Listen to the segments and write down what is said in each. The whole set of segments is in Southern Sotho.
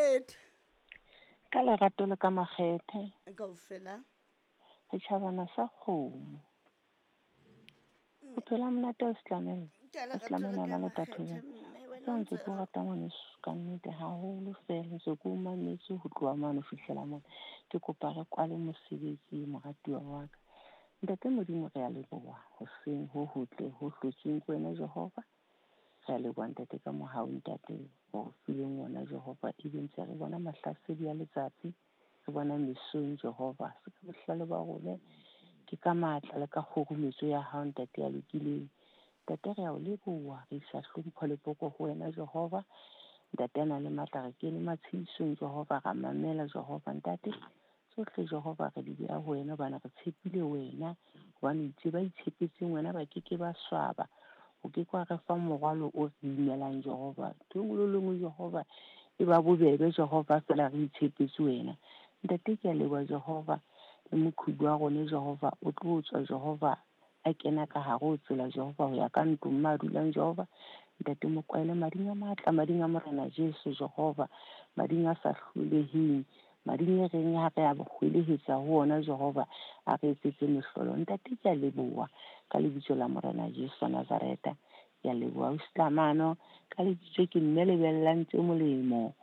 Makgethe. Ka lerato le ka makgethe. Kaofela. Setjhabana sa kgomo. Bophelo ha monate o setlamella. Ka O lerato le setlamella ka ona le makgethe thato. mme wena Tseo o ntse ntse ke o rata ngwaneso ka nnete haholo fela ntse ke o mametse ho tloha mane ho fihlela mona. Ke kopa re kwale mosebetsi moratuwa wa ka. Ntate Modimo re a leboha hoseng ho hotle ho hlotsweng ke wena Jehova. Re a leboha ntate ka mohau ntate o re fileng wona Jehova ebe ntse re bona mahlasedi a letsatsi re bona mesong Jehova. Se ka bohlale ba rona ke ka matla le ka kgurumetso ya hao ntate ya lokileng. Ntate re a o leboha re isa hlompho le poko ho wena Jehova. Ntate a nang le matla re kene matshedisong Jehova ra mamela Jehova ntate. Tsohle Jehova re di beha ho wena hobane re tshepile wena hobane o itse ba itshepetseng wena ba keke ba swaba. O ke ke wa re fa morwalo o re imelang Jehova. Ntho e nngwe le e nngwe Jehova e ba bobebe Jehova feela re itshepetse wena. Ntate ke a leboha Jehova le moqhubu wa rona Jehova o tlo tswa Jehova a kena ka hare ho tsela Jehova ho ya ka ntlong ma dulang Jehova. Ntate mo kwaele mading a matla, mading a Morena Jesu Jehova, mading a sa hloleheng, mading e reng ha re a hwelehetsa ho ona Jehova a re etsetse mehlolo. Ntate ke a leboha ka lebitso la Morena Jesu wa Nazareta. Ke a leboha Ustamano ka lebitso ke mme lebellang tse molemo.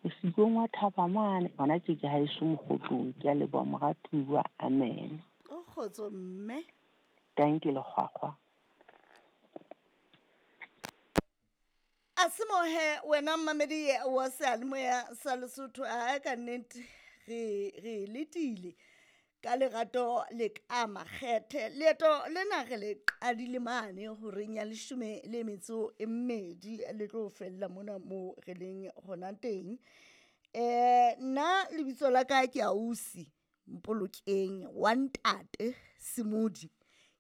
Mosikong wa thaba mane hona tje ke haeso Mokgotlong. Ke a leboha moratuwa. Amen. O kgotso mme. Dankie lekgwakgwa. A se mohe wena mmamedi wa seyalemoya sa Lesotho a ka nnete re re letile ka lerato le ka makgethe. Leeto lena re le qadile mane horeng ya 12 le tlo fella mona mo re leng hona teng. Nna lebitso la ka ke Ausi Mpolokeng wa ntate Semodi.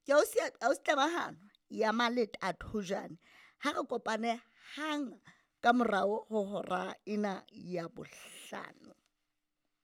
Ke ausi ausi Tlamahano ya Maleta Thojane. Ha re kopane hang ka morao ho hora ena ya 5.